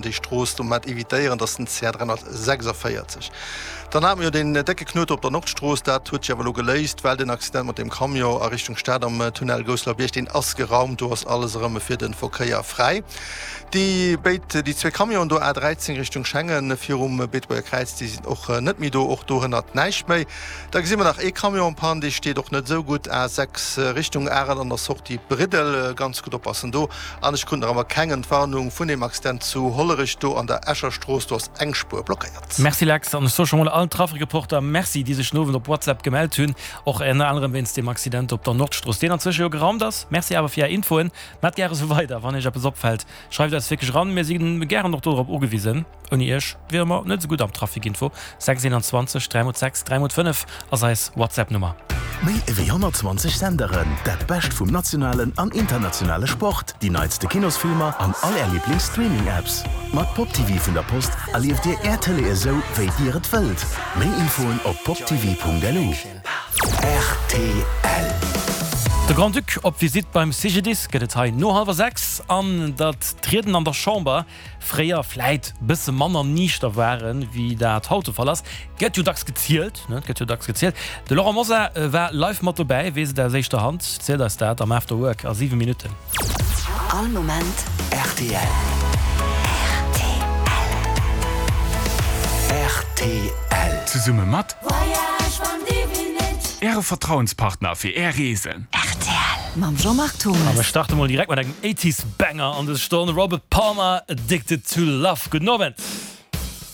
Déi Strooss domat evitéieren, dat ass den CR 346. Dann hate mer jo deen décke Knuet op der Nordstrooss, dat huet sech awer elo geléist, well den Accident mat deem Camion a Richtung Stad am Tunnel Gousselerbierg, deen ass geraumt, do ass alles erëm fir de Verkéier fräi. Déi béid, déi zwee Camionen do, A 13 Richtung Schengen virum Beetebuerger Kräiz, déi sinn och net méi do, och do hënnert näischt méi. Da gesi mer nach ee Camion en panne, dee steet och net esou gutt, A 6 Richtung Arel an der Sortie Briddel, ganz gutt oppassen do. An ech krut nach ëmmer keng Entwarnung vun deem Accident zu Hollerech do an der Escher Strooss, do ass eng Spuer blockéiert. Merci Lex, an ech soe scho mol allen Trafikreporter Merci, déi sech den Owend op WhatsApp gemellt hunn, och ënner anerem wéinst deem Accident op der Nordstrooss, deen anzwësche jo geraumt ass. Merci awer fir är Infoen. Maacht gäre sou weider, wann iech eppes opfält, schreift eis wierklech eran, mir si gären och dorop ugewisen. Ouni iech wiere mer net esou gutt am Traficinfo. 6 21 3 x 6 3 x 5 ass eis WhatsApp Nummer. Méi ewéi 120 Senderen, dat Bescht vum nationalen an internationale Sport, déi neitste Kinosfilmer an all Är Liiblings-Streaming-Apps. Mat Pop TV vun der Post erlieft Dir Är Tëlee esou, wéi Dir et wëllt. Méi Infoen op poptv.lu. Rtl. De Grand-Duc op Visitt beim CGDIS gëtt et hei no hallwer 6 an datt d'Rieden an der Chamber fréier vläit bësse manner niichter waren, wéi dat haut de Fall ass, gëtt jo dacks gezielt, ne? Gëtt jo dacks gezielt. De Laurent Mosar war live mat dobäi, weess et aus éischter Hand, zielt eis dat am After Work a 7 Minutten. All Moment rtl. Rtl. Zesumme mat Äre Vertrauenspartner fir Är Reesen. Rtl mam Jean-Marc A mir Thomes. starte mol direkt mat engem Eighties Banger an dës Stonn, Robert Palmer, Addicted to Love. Gudden Owend.